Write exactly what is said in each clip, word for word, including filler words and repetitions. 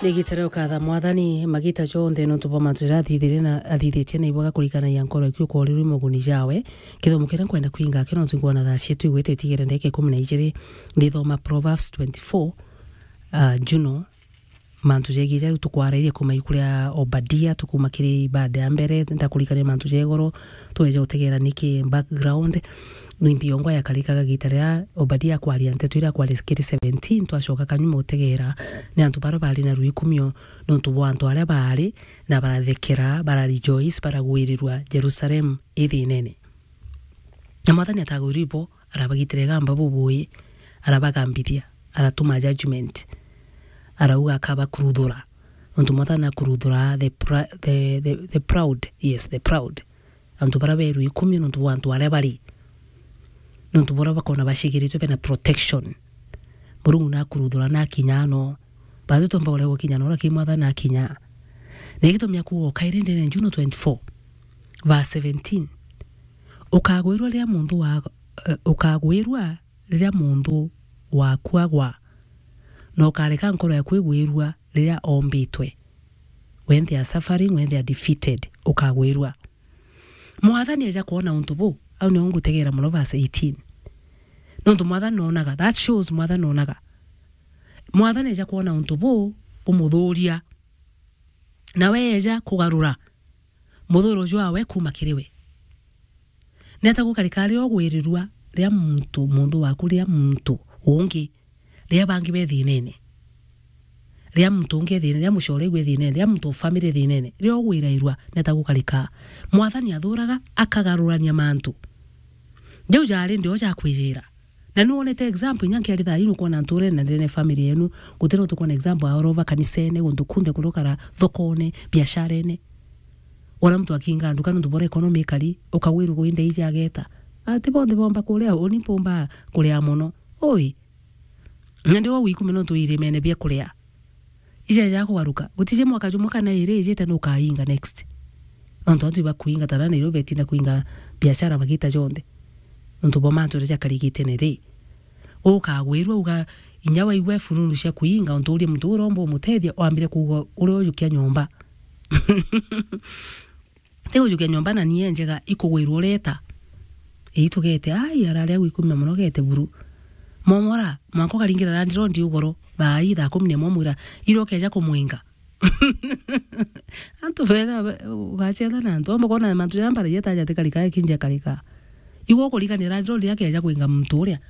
Igita ria ukatha Mwathani magita jonthe nontu bwa mantu jaria athithire na athithitie na iboga kurikanagia nkoro iku ukorirwe muguni jawe. Kithomo kiria nkwenda kwinga akio nontu ngwona thaa cietu igwite itigere ndagika ikumi na ijiri. Ndithoma Proverbs twenty-four, uh, Juno. Mantu jegie jaria tukwarairie kuma iku ria Obadia, tukuma kiri ibada ya mbere, ndakurikania mantu ja igoro, tweja utegera niki background. Nimbi yongwa yakarikaga gita ria Obadia akwaria nteto iria akwaria kiri seventeen, twacoka kanyuma utegera ni antu baria bari na ruikumio nontu bwa antu aria baari na barathekera, bara rejoice, baragwirirwa Jerusalem ithinene. Na Mwathani atagwirwe ibo, arabagitire gamba bubui, arabagambithia, aratuma judgment, arauga akabakuruthura. Nontu Mwathani akuruthura the, pra- the, the, the proud, yes, the proud. Antu bara berwa ikumi nontu bwa antu aria bari. Nontu bora bakona bashigiritwe bena protection. Murungu nakuruthura na kinya no. Bathi tomba uria gukinya no, lakini Mwathani akinya. Na gitumi akuga ukairi ndene Juno twenty-four, verse seventeen. Ukagwirwa riria muntu wa, eh, ukagwirwa riria muntu waku agwa, na ukareka nkoro yaku igwirua riria ombitwe. When they are suffering, when they are defeated, ukagwirua. Mwathani eja kwona untu buu, au nio ngutegera mono verse eighteen. Nontu Mwathani noonaga, that shows Mwathani noonaga. Mwathani eja kwona untu buu, bumuthuria. Nawe eja kugarura muthuro jwawe kuuma kiri we. Niata gukarika riria ugwirirua, riria muntu, muntu waku, riria muntu ungi, riria bangi be thinene, riria muntu ungi e thinene, riria mucore igwe thinene, riria muntu o family e thinene, riria ugwirairua, niata gukarika? Mwathani athuraga akagarurania mantu. Jau jari ndio ja kwijira. Na ni wonete example, inya nkiari thaa ii nukwona nturene na ndene family yenu, gutira utukwona example ya orova kanisene, guntu kunthe kurukara, thokone, biasharene. Wona muntu akinga nduka nontu bora economy ikari, ukagwirwa gwinda iji ageta. Ati bonthe bomba kuria, uni mpumba kuria mono. Ui. Na ndio wikumia nontu irimene bia kuria. Ijeja kugaruka. Gutiji mwaka jumwe kana iri ijite nukainga next. Nontu antu ibakuinga tara Nairobi etinda kuinga biashara magita jonthe. Nontu bwa mantu jakarigite nere. Ukagwirua uga inya waigua fururu cia kuinga, untu urie muntu uromba umutethia, wambire kuuga uria ujukia nyomba. Ti gujukia nyomba na nie njega ikugwirua ureta. Ii tugete, ai, arari agu ikumia mono gete buru. Momora, mwanka ukaringira Landlord ugoro, thaa ii, thaa kumi na imwe mwira, ira ukeja kumwinga. Antu betha, ugacetha na antu, omba kwona mantu jaria mbaragia ta jatika rika, kinja karika. Igwe ukurigania Landlord akeja kwinga muntu uria,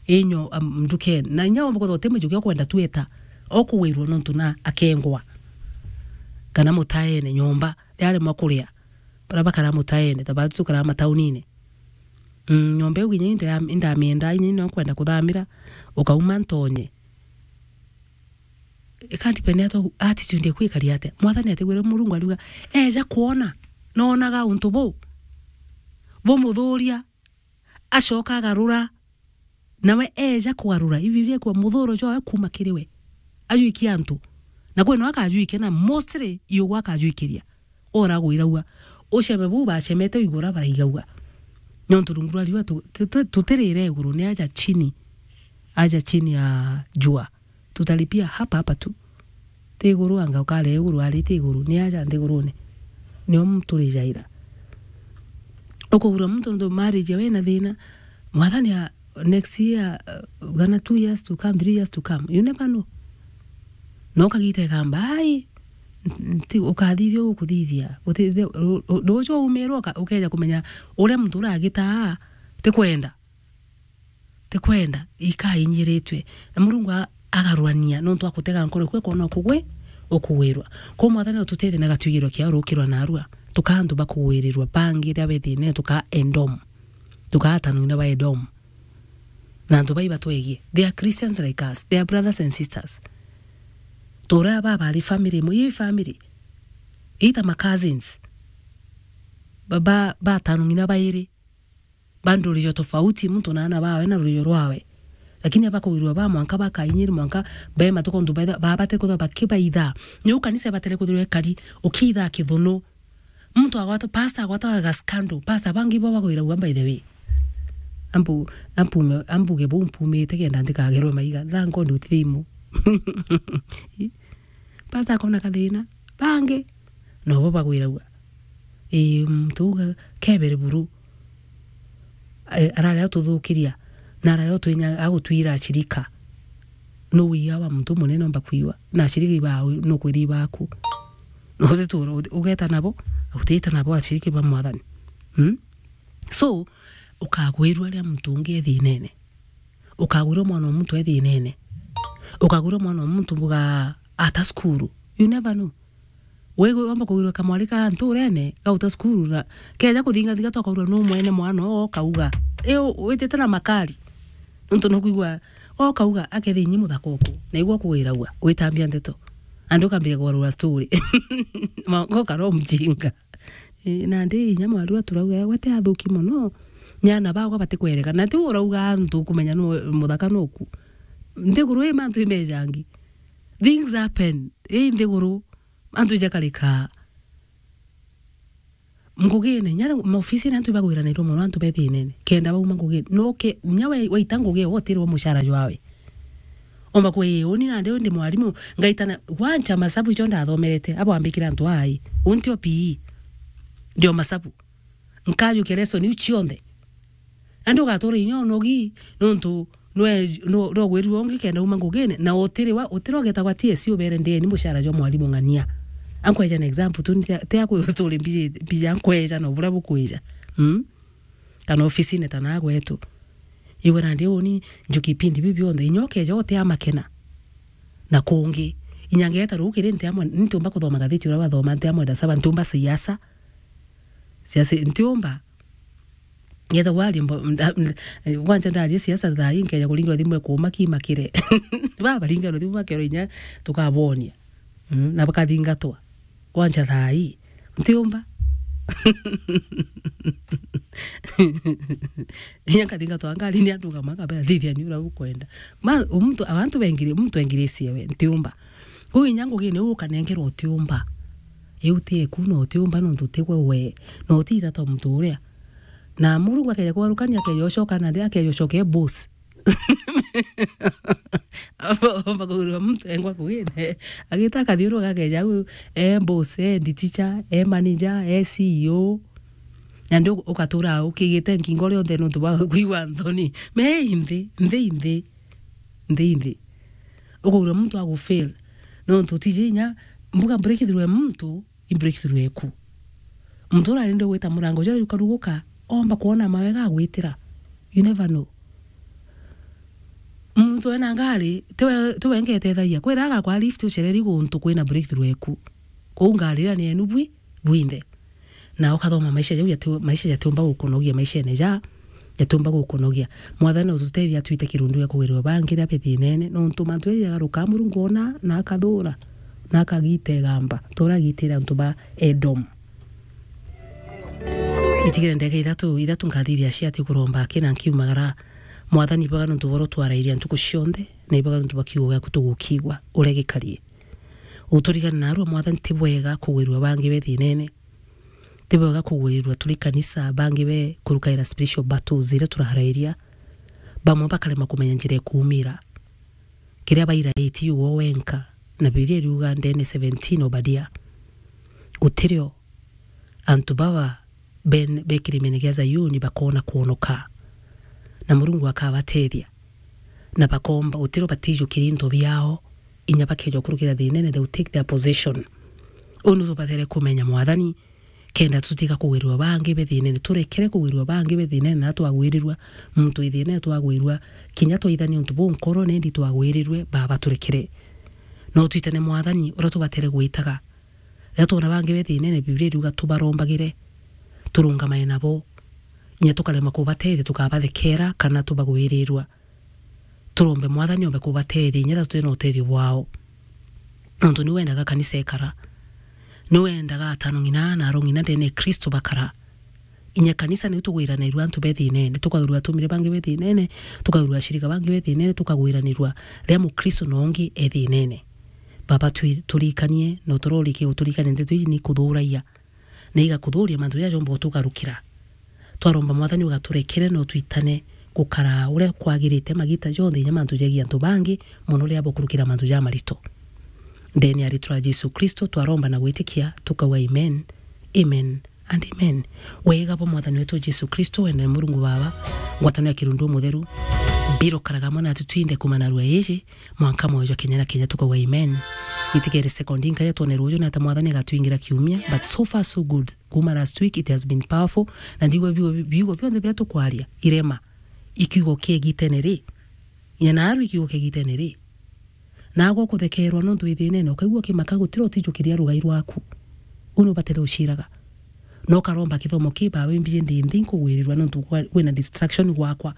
inyo, am, ndukene. Na inya omba kwithwa uti mwijukia ukwenda tweta, okugwirua nontu na akengwa. Kana mutaene nyomba, riaremwa kuria. Bara bakara mutaene, ta batu tukara mataunine. Mm, nyomba iu kinya indira-, indamienda, inya ino nkwenda kuthamira, ukauma ntonye. Ikandipenia tu attitude eku ikari atia. Mwathani atigwire Murungu ariuga, eja kwona, noonaga untu buu. Bumuthuria, acoka agarura. Nawe eja kugarura, Biblia ikua muthuro jwawe kuuma kiri we. Ajwikia antu. Na kwina akajwikia na mostly iugwa akajwikiria. Ora gwiraua. Uceme buu bacemete igura baraigaua. Nontu rungu rwa riua tu-, tu-, tu-, tutirire iguru, ni aja chini. Aja chini ya jua. Tutalipia hapa hapa tu. Ti iguru anga ukare iguru, ari ti iguru, ni aja nthigurune. Nio muturijaira. Ukugura muntu nontu marriage yawe ina thina. Mwathani a, next year, uh, kana two years to come, three years to come. You never know. No kagita ikamba, ai, nti, ukathithia ukuthithia. Uti, the, ru-, ru-, rucio umirwa uka-, ukeja kumenya uria muntu uragitaa, ti kwenda. Ti kwenda, ikainyiritwe. Na Murungu a-, agarurania, nontu akutega nkoro kwe kwona ukugwi-, ukugwirwa. Kwa Mwathani ututethie na gatwigirwa kia urukirwa narua. Tukaa antu bakugwirirwa, bangi riria bethinene, tukaa Edom. Tukaa atanu na ba Edom. Na antu bai batwegie. They are Christians like us. They are brothers and sisters. Tora aba bari family imwe, ii family. Ii ta ma cousins. Ba, ba, ba atanu ng'ina bairi. Ba ndurijo tofauti, muntu na ana bawe na rurijo rwawe. Lakini abakugwirua ba mwanka bakainyiri mwanka be matuku ntu betha, babatire kwithirwa bakibaitha. Niu kanisa ibatire kwithirwa ikari, ukiitha kithunu. Muntu agwata, pastor agwata ga scandal. Pastor bangi bo bagwiragua by the way. Ambu-, ampume-, ambuge buu mpumite kenda ndikagerwe maiga. Thank God uti thimu. Pastor akona kathina. Bangi, nobo bagwiragua. Ii, muntu uga kebere buru. Eh, arari atuthukiria, na arari atwinya agutwira acirika. Nuwiya wa muntu munene omba kwiwa. Na acirika ibawe, nukwira ibaku. Nuzitura, ugeta nabo, utita nabo acirika ba Mwathani. Hmm? So, ukagwirua ria muntu ungi e thinene. Ukagwirua mwana wa muntu e thinene. Ukagwirua mwana wa muntu mbuga ata cukuru. You never know. Wigwe wamba kugwirua kamwari ka nturene, gauta cukuru na keja kuthingathinga twakorwa nu mwene mwana oo kauga. Iu witite na makari. Nontu nukwigua, oo kauga, akethia inyi muthaka uku. Na igua kugwiragua, gwitambia ndeto. Andi ukambia kwarura story. Ma-, ngokara o mjinga. Ii, nandi inya mwarua turauga, we ti athuki mono. Nyana bagwa batikwereka. Na ti urauga antu kumenya nu muthaka nuku. Nthiguru ii mantu imejangi. Things happen. Ii nthiguru, antu ijakarika. Ngugine, inya maofisine antu ibagwiranirwe mono antu be thinene. Kenda bauma ngugine. Noke, inya we, waita ngugi, wotirwe mushara jwawe. Omba kwi, uni nandi ndi mwarimu, ngaitana, gwancha masabu icho ndathomerete, abo ambikira antu ai. Unti o P E. Ndio masabu. Nkajukia lesson iu cionthe. Nandi ugatura inya unogi, nontu nwe-, no-, nogwirua ungi kenda uma ngugine, na utiriwa, utiriwa getagwa T S C ubere ndeni mushara jwa mwarimu ng'ania. Ankweja na example tu, ntia-, ti akwi story mbiji, mbija ankweja no buria bukwija. Mm? Kana ofisine ta na gwetu. Igwe nandi uni njuki ipindi biu bionthe, inya ukeja uti amakena. Na kungi, inya ngeta ruu kiri nti amwe, ntiumba kuthoma gathiti uria bathoma, nti amwe ndasaba, ntiumba siasa. Siasa, ntiumba. Ngeta waria mbo-, nda-, nda-, gwanja ndaria siasa thaa ii, nkeja kuringirwa thimu ekuma kimakire. Babaringa thimu bakero inya tukabonia. Mm, na bakathingatwa. Gwanja thaa ii. Ntiumba. Inya nkathingatwa ngari ni andu gama kabera thithia ni uria ukwenda. Ma, muntu, abantu bengire, muntu engiricie we, ntiumba. Kwou inya ngugine uu ukanengerwa utiumba. Iu ti eku na utiumba nontu tigwe we. Na utitata muntu uria. Na Murungu akeja kwarukania, akeja ucoka na ri, akeja ucoke e boss. Abo, bakugurwa muntu engwa kugine. Agita akathiuruka akeja au, e boss, e head teacher, e manager, e C E O. Na ndi ugatura ukigite nkingo rionthe nontu bwa kwigua nthoni. Me inthi, nthi inthi. Nthi inthi. Ukugurwa muntu agu fail. Nontu tiji inya, mbuga breakthrough ya muntu, i breakthrough eku. Muntu uria arenda gwita murango juria jukaruguka, omba kwona mawega agwitira. You never know. Muntu ena ngari, tiwe, tiwe ngetethagia. Kwira agakwa lift ucereri guntu kwina breakthrough eku. Kou ngari iria ni enu bwi, bwinthe. Na ukathoma maisha jau jati-, maisha jatiumba gukunogia maishene ja, jatiumba gukunogia. Mwathani ututethia atwite kirundu gia kugwirua bangi ria bethinene, nontu mantu jaja jagarukaa Murungu ona na akathura, na akagita igamba, ta uria agitire antu ba Edom. Itigire ndeka ithatu, ithatu nkathithia ciati kuromba aki na nkiumagara. Mwathani, ibaga nontu boro twarairia ntuku cionthe, na ibaga nontu bwa kiugo giaku tugukigua uria gikarie. Uturigane narua, Mwathani, ti bwega kugwirua bangi be thinene. Ti bwega kugwirirua turi kanisa, bangi be kurukaira spiritual battles iria turarairia. Bamwe bakarema kumenya njira ya kuumira. Kiria bairaitie uo wenka, na Bibilia iriuga ndene seventeen Obadia, gutirio antu baba ben-, be kirimene gia Zayuni bakoona kwonoka, na Murungu akabatethia, na bakomba, gutirio batijukiria into biao, inya bakeja kurukira thinene, they will take their possession. Uu niu tubatere kumenya, Mwathani, kenda tutiga kugwirua bangi be thinene, turekere kugwirua bangi be thinene, na twagwirirua, muntu i thinene twagwirua, kinya twaithania untu buu nkoro, nendi twagwirirue, Baba, turekere. No twitane, Mwathani, uria tubatere gwitaga. Riria twona bangi be thinene, Bibilia iriuga tubarombagire, turungamae nabo, inya tukarema kubatethia, tukabathekera, kana tubagwirirua. Turombe Mwathani ombe kubatethia, inya ta twina utethio bwao. Nontu ni wendaga kanisa ikara. Ni wendaga atano ng'ina na aro ng'ina ndene ya Kristo bakara. Inya kanisa niu tugwiranairua antu be thinene, tukagwirua atumire bangi be thinene, tukagwirua ashirika bangi be thinene, tukagwiranirua riria Mukristo na ungi e thinene. Baba, twi-, turikanie, na uturorikie uturikanie ndeto iji ni kuthuragia, na igakuthuria mantu jaria jomba utugarukira. Twaromba, Mwathani, ugaturekere na utwitane gukara uria kwagirite magita jonthe, inya mantu jegie antu bangi, mono riria bokurukira mantu jamarito. Ndene ya ritwa ria Jesu Kristo twaromba na gwitikia, tukauga amen, amen and amen. Wega bwa Mwathani wetu Jesu Kristo, wenda ni Murungu Baba, ngwatanio ya Kirundu Mutheru, birokaraga amwe natu twinthe kuuma narua iji, mwanka mwoyo jwa kenya na kenya, tukauga amen. Itigere sekondi nkaja twone ruuju na ata Mwathani agatwingira kiumia, but so far so good. Kuuma last week it has been powerful, na ndigwa biugo, biugo bionthe biria tukwaria, irema, ikiugo kia igitene ri, inya naaru ikiugo kia igitene ri, naagwa kuthekerwa nontu wi thinene, ukaigua ukimaka, gutira utiju kiria rugai rwaku. Uu ni ubatire uciraga. Na ukaromba kithomo ki, Baba, imbiji ndi nthi, nkugwirirwa nontu kwa-, kwina distraction gwakwa.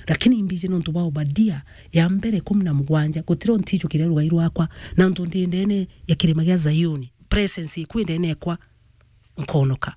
Lakini imbiji nontu bwa Obadia ya mbere ikumi na mugwanja, gutira untiju kiria rugai rwakwa, na nontu ndi ndene ya kirima gia Zayuni, presence iku i ndene ekwa, nkonoka.